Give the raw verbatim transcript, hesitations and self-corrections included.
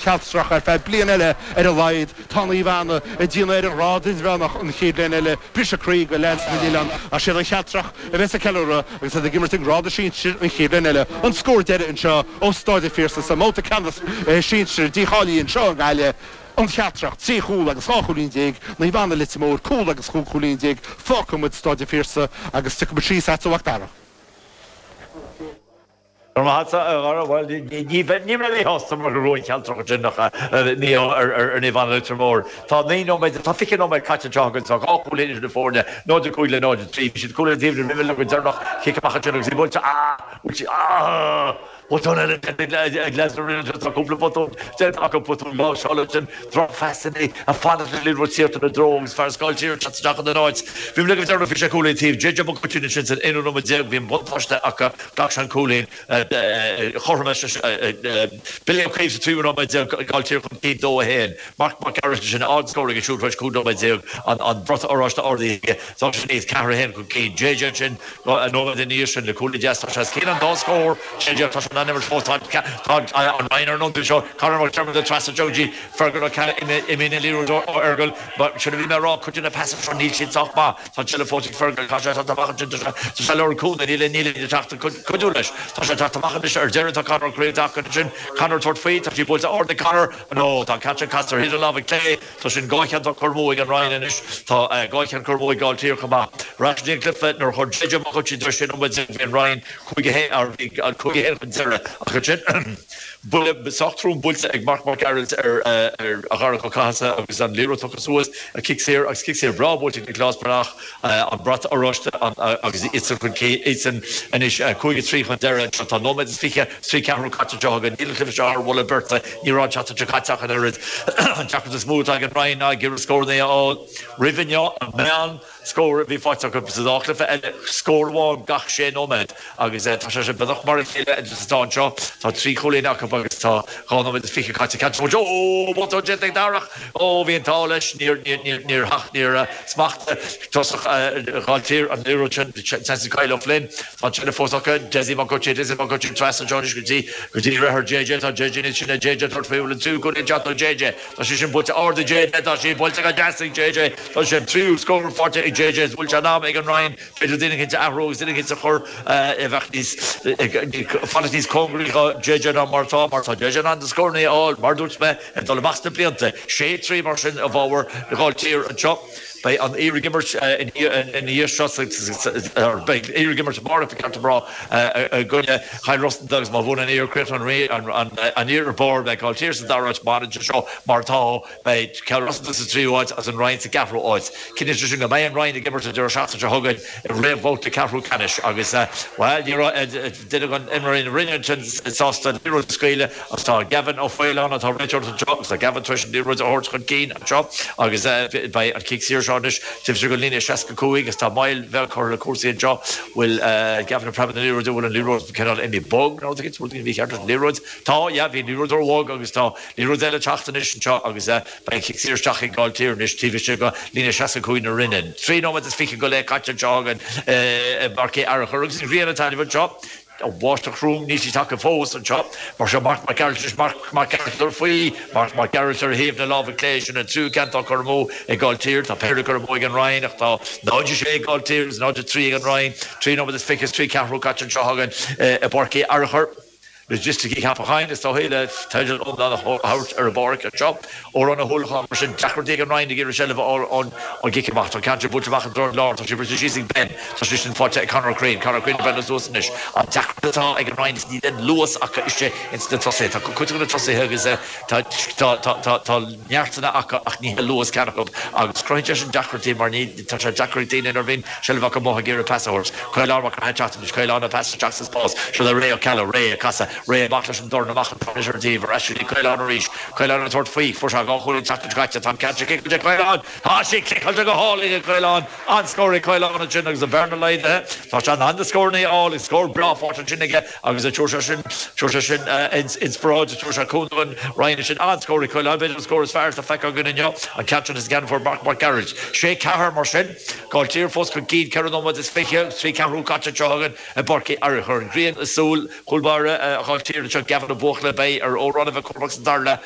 Chealtrach ar feadh bliain eile ar a laghad. Tá Naomh Anna ag déanamh ar an ngrád idirmheánach an chéad bhliain eile. Briseadh croí do leaids na nOileán ach siad an Chealtrach a bheas ag ceiliúradh agus iad ag imirt i ngrád sinsir an chéad bhliain eile. An scór deiridh anseo ó Staid an Phiarsaigh sa mbabhta ceannais sinsir dícháilithe anseo i nGaillimh, An Chealtrach trí chúl agus dhá chúilín déag, Naomh Anna Leitir Móir cúl agus chúig chúilín déag. Fágfaidh muid Staid an Phiarsaigh agus tiocfaidh muid síos agat a Mhac Dara. Go raibh maith agat, a Dhara. Bhuel, ní bheinn ní bheinn míshásta mar go raibh an Chealtrach ansin ach mí-ádh ar Naomh Anna Leitir Móir. Tá naoi nóiméad, tá fiche nóiméad caite anseo againn, tá dhá chúilín idir na foirne, náid a cúig le náid a trí. Bhí siad cúl ar taobh roimhe le go deireanach, cic amach ansin agus í buailte, ah! Buailte, ah! Botún eile déanta ag leaids na Rinne anseo, tá cúpla botún déanta acu, botún láimhseála ansin, drochphasanna ag fanacht le liathróid tíocht ina dtreo agus fear Gailltír ag teacht isteach ina n-áit. Bhí mé le go deireanach, bhí sé cúilín taobh. JJ Mac Oitín ansin san aonú nóiméad déag, bhí an buntáiste acu, ghlac sé an cúilín. Chothrom Billy Ó Caoimh sa tríú nóiméad déag, Gailltír chun cinn dó a haon. Marc Mac Gearailt ansin, ardscór aige siúd tar éis cúig nóiméad déag, an brat oráiste ardaithe aige. Tá sin iad ceathair a haon chun cinn. JJ ansin nóiméad ina dhiaidh sin le cúilín deas. Tá sé os cionn an dá scór. JJ, tá sé in ann imirt fós. Tá an Rinn ar an ionsaí anseo. Conor McDermott ag trasna anseo go dtí Fergal Ó Ceallaigh. Imíonn an liathróid ó Fhergal. Sin a bhí mé a rá, cuid de na pasanna seo níl siad sách maith. Tá an tseilbh fós ag Fergal. Tá sé ag teacht amach ansin. Tá sé ag lorg cúnamh. Níl níl éinne ag teacht cuidiú leis. Tá sé ag teacht amach anois. Ar deireadh tá Conor Ó Caoimh tagtha ansin. Conor ag tabhairt faoi. Tá sí buailte ard ag Conor. Nó tá an ceann sin casta ar thaobh na láimhe clé. Tá sin dhá cheann curtha amú ag an Rinn anois. Tá dhá cheann curtha amú ag Gailltír chomh maith. Ar ais go dtí an cluiche nuair a chuir JJ Mac Oitín tar éis sé nóiméad déag bhí an Rinn cúig a haon bhí an cúig a haon chun deireadh ach ansin buille sách trom buailte ag Marc Mac Gearailt ar Dharach Ó Cathasaigh agus an liathróid tugtha suas, cic saor agus cic saor breá buailte ag Nioclás Breathnach, an brat oráiste agus iadsan chun cinn, iadsan anois cúig a trí chun deireadh anseo. Tá nóiméad is fiche is trí ceathrú caite anseo againn. Níl an cluiche seo thar mholadh beirte, ní raibh an tseachtain seo caite ach an oiread. An deacracht is mó atá ag an Rinn ná ag iarraidh scóranna a fháil roimh inniu, an meán scór a bhí faighte acu sa dá chluiche eile, scór amháin gach sé nóiméad agus tá sé sin beagnach mar a chéile is atá anseo. Tá trí chúilín acu agus tá dhá nóiméad is fiche caite. Ceann Ó, botún déanta ag Darach! Ó, bhí an t-ádh leis, níor, níor, níor, níor smachtaigh tosach Ghailltír an liathróid sin, seans ag Kyle O'Flynn. Tá an tseilbh fós acu. Dessie Mac Oitín, Dessie Mac Oitín trasna anseo anois go dtí, go dtí deartháir JJ. Tá JJ níos sine, JJ ag tabhairt faoi, bhfuil an tríú cúilín ag teacht ó JJ. Tá sé sin buailte ard ag JJ, tá sí buailte go deas ag JJ. Tá sé an tríú scór faighte ag JJ is bhfuil sé in am ag an Rinn b'fhéidir duine éicint a athrú agus duine éicint a chur a bheadh níos fanacht níos cóngaraí do JJ ná mar atá mar tá JJ in ann na scóranna a fháil mar a dúirt mé ag dul amach sna blianta. Sé trí mar sin i bhfabhar Ghailltír anseo. Beidh an Iarthair ag imirt ina dhiaidh seo beidh Iarthar ag imirt amárach ba cheart dom a rá i gcoinne Chill Rosanta agus má bhuann an Iarthar críochnóidh an Iarthar ar barr beidh Gailltír sa dara háit mar anseo mar atá Beidh Cill Rosanta sa tríú háit agus an Rinn sa gceathrú háit. Cinntíonn sé sin go mbeidh an Rinn ag imirt an deireadh seachtaine seo chugainn i réamhbhabhta ceathrú ceannais agus, bhuel, ní raibh duine d'imreoirí na Rinne ansin sásta an liathróid a scaoileadh agus tá Gavin Ó Faoláin atá ag réiteoireacht anseo agus tá Gavin tar éis an liathróid a thabhairt chun cinn anseo agus beidh an cic saor seo anois taobh istigh den líne seasca cúig agus tá moill bheag curtha le cúrsaí anseo. Bhfuil Gavin ag preabadh na liathróide, bhfuil an liathróid cineál imithe bog nó rud éicint, rud éicint mícheart leis an liathróid. Tá, yeah, bhí an liathróid róbhog agus tá Liathróid eile ag teacht anois anseo agus beidh an cic saor isteach ag Gailltír anois taobh istigh de líne seasca cúig na Rinne. Trí nóiméad is fiche go leith caite anseo againn i bPáirc Uí Fhearchair agus an ghrian ag taitneamh anseo. An bháisteach throm, níl sí tagtha fós anseo. Mar seo Marc Mac Gearailt anois, Marc Mac Gearailt ag dul faoi, Marc Mac Gearailt ar thaobh na láimhe clé, sin an tríú ceann atá curtha amú ag Gailltír. Tá péire curtha amú ag an Rinn ach tá náid a sé ag Gailltír agus náid a trí ag an Rinn. Trí nóiméad is fiche is trí ceathrú caite anseo againn i bPáirc Uí Fhearchair. Loighisticí Cheapacháin is dóichí le teideal iomlán a thabhairt ar an bpáirc anseo. Odhrán Ó hUallacháin mar sin, deacrachtaí ag an Rinn ag iarraidh seilbh a fháil ón gcic amach. Tá an ceann seo buailte amach i dtreo an láir, tá sé briste síos ag Ben, tá sé sin faighte ag Conor Crean. Conor Crean ag breathnú suas anois. An deacracht atá ag an Rinn is níl aon luas acu istigh ins na tosaithe. Tá cuid de na tosaithe agus tá tá tá neartanna acu ach ní hé luas ceann acu agus cruthaíonn sé sin deacrachtaí mar ní tá sé deacair ag daoine nuair a bhíonn seilbh acu amuigh ag iarraidh pas a thabhairt. Caolán Mac Craith ag teacht anois, Caolán ag pas isteach sa spás, seo le Ray Ó Ceallaigh, Ray ag casadh, Ray amach leis an dorn amach an anois ar an taobh, ar ais go dtí Caolán arís, Caolán ag tabhairt faoi, fuair sé dhá chúilín an tseachtain seo caite, tá an ceann seo ciceáilte ag Caolán, tá sí ciceáilte go hálainn ag Caolán, an-scór ag Caolán ansin agus an bhearna laghdaithe, tá sé in ann na scóranna a fháil agus scór breá faighte ansin aige agus tabharfaidh sé sin, tabharfaidh sé sin inspioráid, tabharfaidh sé cúnamh don Rinn ansin, an-scór ag Caolán, b'fhéidir an scór is fearr atá feicthe againn inniu, an ceann sin is an ceann a fuair Marc Mac Gearailt. Sé ceathair mar sin. Gailltír fós chun cinn, ceithre nóiméad is fiche agus trí ceathrú caite anseo againn i bPáirc Uí Fhearchair. An ghrian i súil chúl báire Mhicheál Tír seo Gavin Ó Buachalla beidh ar Ó Ronna Cormac san darla an